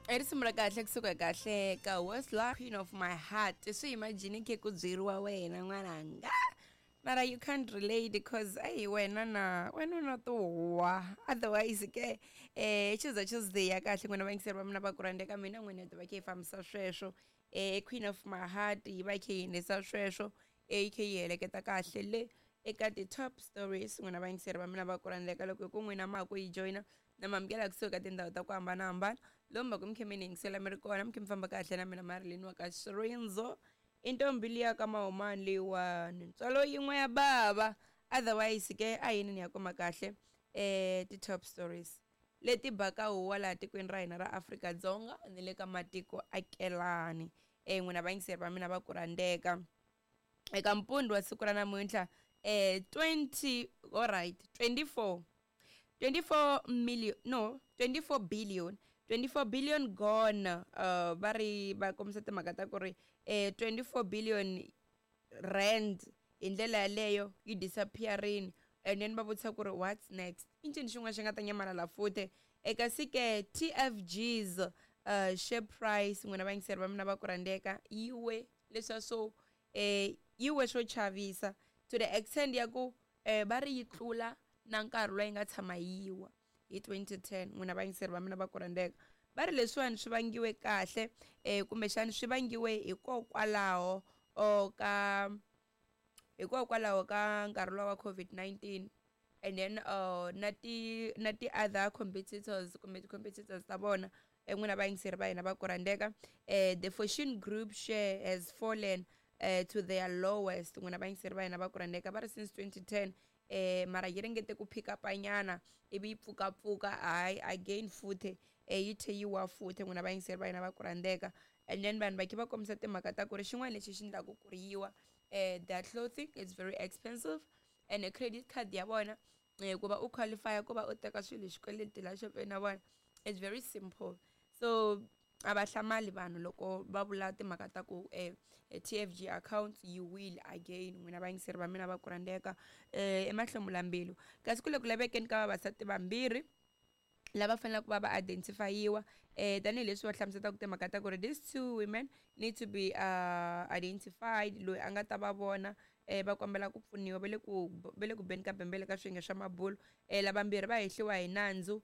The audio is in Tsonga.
I risimu ra kahle kusuka kahle ka Westla, Queen of My Heart. Swi imagine khe ku byeriwa wena n'wananga, mara you can't relate because ayi wena na wena na tuwa. Otherwise ke Tuesday, Tuesday ya kahle n'wina vayingiseri va mina va ku rhandzeka mina n'wina hi ta va khe hi fambisa sweswo. Queen of My Heart yi va khe yi endlisa sweswo, yi khe yi heleketa kahle le eka ti-top stories n'wina vayingiseri va mina va ku rhandzeka. Loko hi ku n'wina ma ha ku yi joyina, na mi amukela kusuhi ka tindhawu ta ku hambanahambana lomu va ku mi khe mi ni yingisela mi ri kona, mi khe mi famba kahle na mina Marilyn wa ka Xirindzo, i ntombi liya ka Mahumani leyiwani, ntswalo yin'we ya bava. Otherwise ke a yini ni ya kuma kahle ti-top stories leti baka huwa laha tikweni ra hina ra Afrika-Dzonga ni le ka matiko akelani. N'wina vayingiseri va mina va ku rhandzeka, eka mpundzu wa siku ra namuntlha, 20, alright, 24, 24 million, no, 24 billion, 24 billion gone. Va ri va kombisa timhaka ta ku ri 24 billion rand hi ndlela yaleyo yi disappearini, and then va vutisa ku ri what's next, i ncini xin'wana xi nga ta nyamalala futhi. Eka sike TFG's share price, n'wina vayingiseri va mina va ku rhandzeka, yi we leswiya swo yi we swo chavisa to the extent ya ku va ri yi tlula na nkarhi lowu yi nga tshama yi wa hi 2010. N'wina vayingiseri va mina va ku rhandzeka, va ri leswiwani swi vangiwe kahle kumbexani swi vangiwe hikokwalaho ka hikokwalaho ka nkarhi lowa wa COVID-19, and then na ti other competitors kumbe ti-competitors ta vona. N'wina vayingiseri va hina va ku rhandzeka, the Fortune Group share has fallen to their lowest, n'wina vayingiseri va hina va ku rhandzeka, va ri since 2010. Mara yi ringete ku pick up nyana ivi yi pfukapfuka, hayi, again futhi yi tlhe yi wa futhi, n'wina vayingiseri va hina va ku rhandzeka. And then vanhu va khe va kombisa timhaka ta ku ri xin'wana lexi xi endlaku ku ri yiwa, their clothing is very expensive, and credit card ya vona, ku va u qualify ku va u teka swilo hi xikweleti la xopeni ya vona, it's very simple. So a va hlamali vanhu loko va vula timhaka ta ku TFG account yi wile again, n'wina vayingiseri va mina va ku rhandzeka. Emahlomula mbilu kasi ku le ku lavekeni ka vavasati vambirhi lava faneleke ku va va identifyiwa, tanihileswi va hlamuselaka timhaka ta ku ri these two women need to be identified. Loyi a nga ta va vona, va kombela ku pfuniwa, va le ku beni ka bembele ka swiyenge swa mabulo. Lavambirhi va hehliwa hi nandzu.